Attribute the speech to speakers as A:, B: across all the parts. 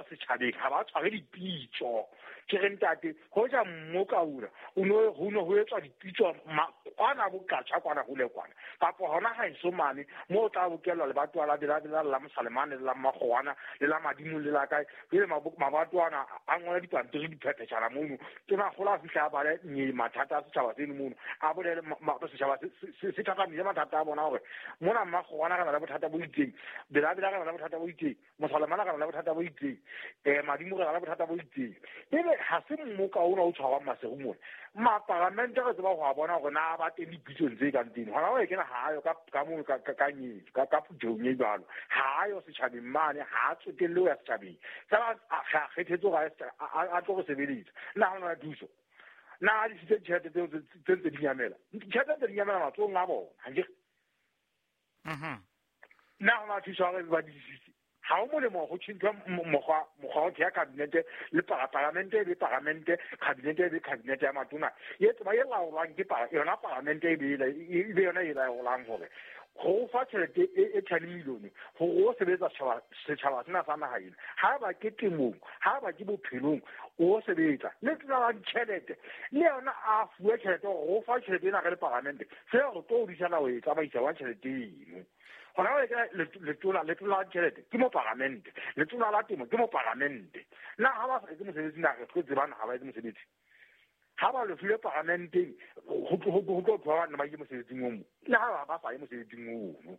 A: ayo setjhabeng, ha ba tshware dipitso. Ke re ntate, hoja mmoka una o no ho no ho etswa dipitso kwana bokatjha kwana hole kwana, kapa hona ha eso mane moo o tla bokellwa lebatowa la Belabela, la Mosalemane, le la Mmakgowana, le la Madimo, le la kae. Jwale mabatowana a ngola dipampiri diphepheshana mono, tonakgolo a fihla a bale nye mathata a setjhaba seno mono, a bolele setjhaba se thathamise mathata a bona hore mona Mmakgowana re na le bothata bo itseng, Belabela re na le bothata bo itseng, Mosalemana re na le bothata bo itseng, Madimo re na le bothata bo itseng. Ebe ha se mmoka ona o tshwarwang Maseru mona, maparamente re tseba ho a bona hore na ba teng dipitsong tse kang tseno. Hona o kena ha ayo ka mono ka nyetso, ka phuthehong e jwalo, ha ayo setjhabeng mane, ha a tsotelle ho ya setjhabeng. Fela a kgethetse hore a tlo re sebeletsa. Na ha hona thuso? Na a disitse ditjhelete tseo tse ntse di nyamela? Ditjhelete tse di nyamela matsohong a bona, ha ke re? Na hona thuso ha re ba disitse? Ha ho molemo ho tjhentjhwa mokgwa wa ho theha kabinete le paramente e be paramente, kabinete e be kabinete ya matona. E tseba e laolwang ke yona paramente e be e be yona e laolang hore ho fa tjhelete e 10 million hore o sebetsa setjhaba sena sa naha ena. Ha ba ke temong, ha ba ke bophelong, o sebetsa. Le tsela la ditjhelete, le yona a fuwe tjhelete hore o fa tjhelete ena re le paramente, fela re tlo hodisana ho e tsamaisa wa tjhelete eno. Hona jwale ke letona la ditjhelete ke moparamente, letona la temo ke moparamente. Na ha ba sa etse mosebetsi, na re tlo tsebana ha ba etse mosebetsi? Ha ba lefile paramenteng, ho tlo thwa ba ile mosebetsing o mong, le ha ba sa ye mosebetsing ono.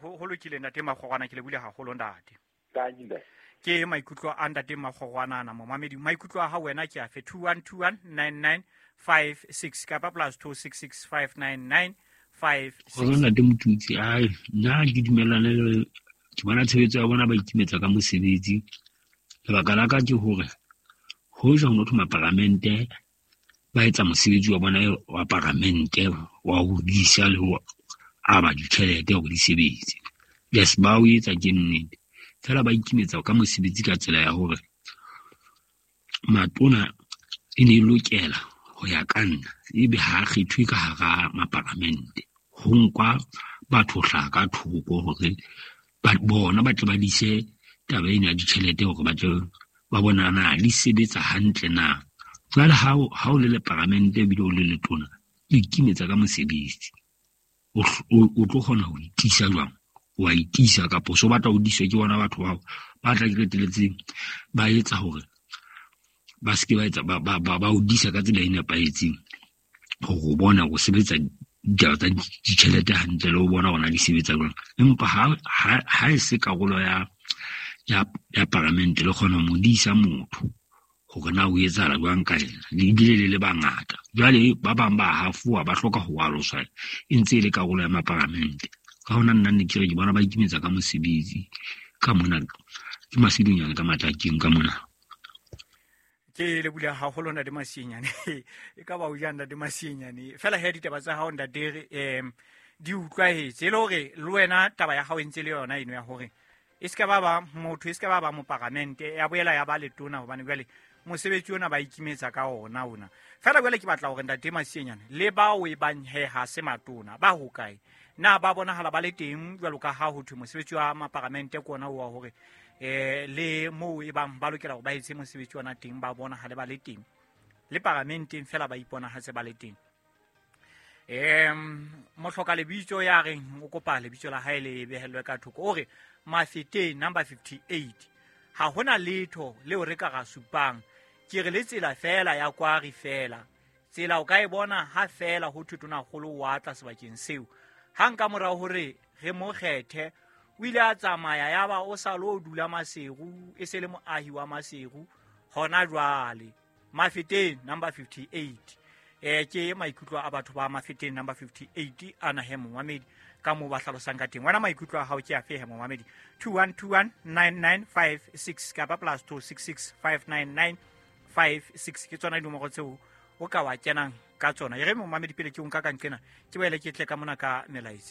B: Ho lokile ntate Makgorwana, ke lebohile haholo ntate.
A: Thank you, ntate.
B: Ke maikutlo a ntate Makgorwana ana momamedi. Maikutlo a hao wena ke afe? 21219956 kapa plus 26659956.
C: Kgotso ntate Motutsi, ai nna ke dumellane le ke bona tshebetso ya bona ba ikimetsa ka mosebetsi. Lebaka la ka ke hore hoja ho no thwe maparamente ba etsa mosebetsi wa bona wa paramente wa ho disa le ho aba ditjhelete hore di sebetse. Yes, ba o etsa ke nnete. Fela ba ikimetsa ka mosebetsi ka tsela ya hore matona e ne e lokela ho ya ka nna ebe ha kgethwe ka hara maparamente. Ho nkwa batho hlaha ka thoko hore bona ba tle ba dise taba ena ya ditjhelete hore ba tle ba bona na di sebetsa hantle na. Jwale ha o le leparamente ebile o le letona, o ikimetsa ka mosebetsi. O tlo kgona ho itisa jwang? Wa itisa kapa o so batla ho diswa ke bona batho bao ba tla qetelletseng ba etsa hore ba se ke ba etsa ba o disa ka tsela e nepahetseng hore o bona o sebetsa ditaba tsa ditjhelete hantle le ho bona hore na di sebetsa jwang. Empa ha e se karolo ya paramente le kgona ho mo disa motho hore na o etsahala jwang ka yena, ebile le le bangata. Jwale ba bang ba hafowa, ba hloka ho aloswa e ntse e le karolo ya maparamente. Ka hona nna ne ke re ke bona ba ikimetsa ka mosebetsi ka mona, ke Masilonyane ka Matlakeng ka mona.
B: Ke lebohile haholo ntate Masienyane. E ka ba o jang ntate Masienyane. Fela he ditaba tsa hao ntate di utlwahetse e le hore le wena taba ya hao e ntse le yona eno ya hore e se ka ba ba motho, e se ka ba ba moparamente, ya boela ya ba letona, hobane jwale mosebetsi ona ba ikimetsa ka ona ona. Fela jwale ke batla hore ntate Masienyane le bao e bang he ha se matona ba hokae? Na ba bonahala ba le teng jwalo ka ha ho thwe mosebetsi wa maparamente ke ona wa hore le moo e bang ba lokela hore ba etse mosebetsi ona teng, ba bonahale ba le teng le paramenteng fela ba iponahatse ba le teng. Mohloka lebitso ya reng o kopa lebitso la hae le behellwe ka thoko, o re Mafeteng number 58, ha hona letho leo re ka ra supang, ke re le tsela fela ya kwari fela, tsela o ka e bona ha fela ho thwe tonakgolo wa tla sebakeng seo. Hang ka morao hore re mo kgethe, o ile a tsamaya ya ba o sa lo dula Maseru, e se le moahi wa Maseru hona jwale. Mafeteng number 58. Ke maikutlo a batho ba Mafeteng number 58 a na he momamedi ka moo ba hlalosang ka teng. Wena maikutlo a hao ke afe he momamedi? 21219956 kapa plus 26659956 ke tsona dinomoro tseo o ka wa kenang ka tsona. E re momamedi pele ke o nka ka nqena, ke boele ke tle ka mona ka melaetsa.